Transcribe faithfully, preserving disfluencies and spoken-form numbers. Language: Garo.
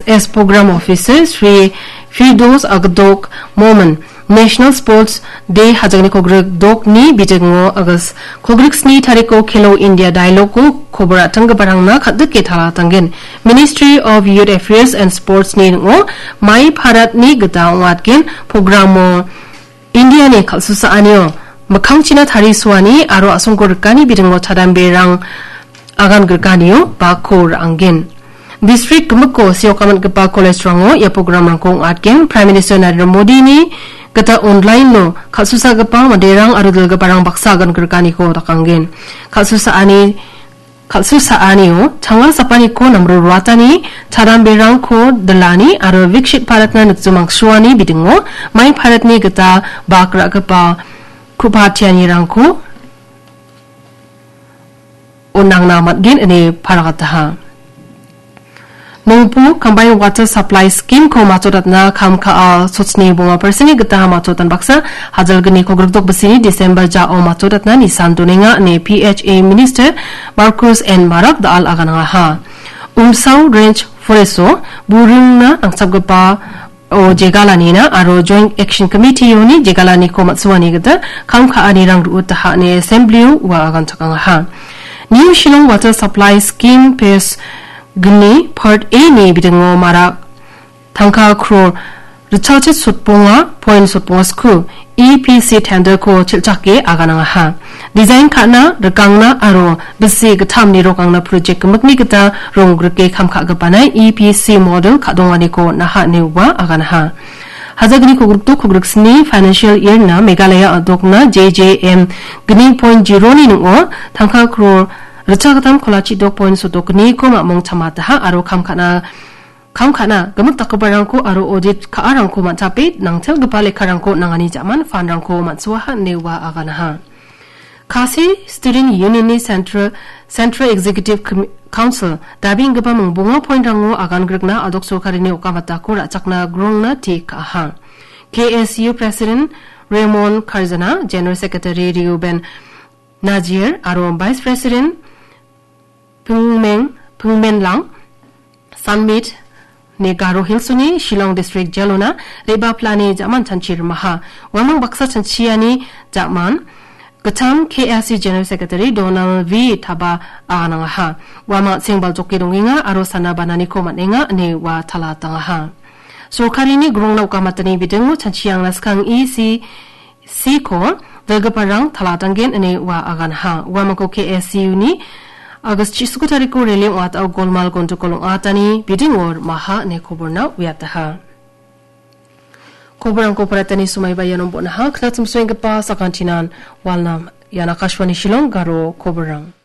S Program Officer Shri Firdos Agdok Momin, National Sports Day hajangni kogrik dokni bitingo August kogrik sni tariko Khelo India Dialogue-o kobor atanggiparangna kadike talatanggen. Ministry of Youth Affairs and Sports-ni ning·o Mai Bharat-ni gita ong·atgen programo India-ni kal·susaanio mikkangchina tarisoani aro a·songko rikani bitingo chadamberang agan grikanio bako ra·angen. Distrik gimikko seokamitgipa college-rango ia programrangko ong·atgen. Prime Minister Narendra Modi-ni gita online-o kal·susagipa manderang aro dilgiparang baksa agan grikaniko dakangen. Kal·susaani, kal·susaanio tanga sapaniko namro ruatani, chadamberangko dilani aro Viksit Bharatna nikjimangsuani bidingo Mai Bharatni gita bak ra·gipa ku·patianirangko on·angna man·gen ine paragataha. Nongpu Combined Water Supply Scheme-ko matchotatna kam ka·a sochni bonga percent-ni gita matchotan baksa hajalgni kogrikdok bisini December jao matchotatna nisan donenga ine P H A Minister Marcus N Marak da·al aganangaha. Umsao Range Forest-o buringna nangchapgipa o jegalanina aro Joint Action Committee-oni jegalaniko matsuani gita kam ka·anirang ru·utaha ine Assembly-o ua aganchakangaha. New Shillong Water Supply Scheme Phase gni Part A-ni bidingo mara tangka crore ritchalchit sotbonga point sotbonga sku E P C tender-ko chilchake aganangaha. Design ka·na, rikangna aro bisi gittam nirokangna project gimikni gita ronggrike kam ka·gipana E P C model ka·donganiko on·aha ine ua aganaha. Hajalgni kogrikdok kogriksni financial year-na Meghalaya a·dokna J J M gni point zero-ni ning·o tangka crore ritchagittam kolachidok point sotdokgniko mamung chamataha aro kam ka·na Kam ka·na, gimik dakgiparangko aro audit ka·arangko man·chape nangtelgipa lekkarangko nangani ja·man fund-rangko man·suaha ine ua aganaha. Khasi Student Union-ni Central, Central Executive Com-, Council, dabenggipa mingbonga point-rango agan grikna a·dok sorkarini okamatako ra·chakna grongna te ka·aha. K S U President Raymond Karjana, General Secretary Reuben Najir, aro Vice President Pingmeng, Pingmenlang, Sunmeet, ni Garo Hills-oni Shillong District Jail-ona re·baplani ja·man chanchi rimaha. Uamang baksa chanchiani ja·man gittam K S U General Secretary Donald V Taba aganangaha. Uamang an·seng baljoke dongenga aro sana bananiko man·enga ine ua talatangaha. Sorkarini grongna okamatani bidingo chanchiangna skang E C C-ko dilgiparang talatanggen ine ua aganha. Uamangko K S U-ni August chisuku tariko rally ong·atao golmal gondokol ong·atani bidingo rimaha ine koborna uiataha. Koborrangko paratani somaiba iano bon·aha. Knatimsoenggipa sakantinan walnam. Ian Akashvani Shillong Garo koborrang.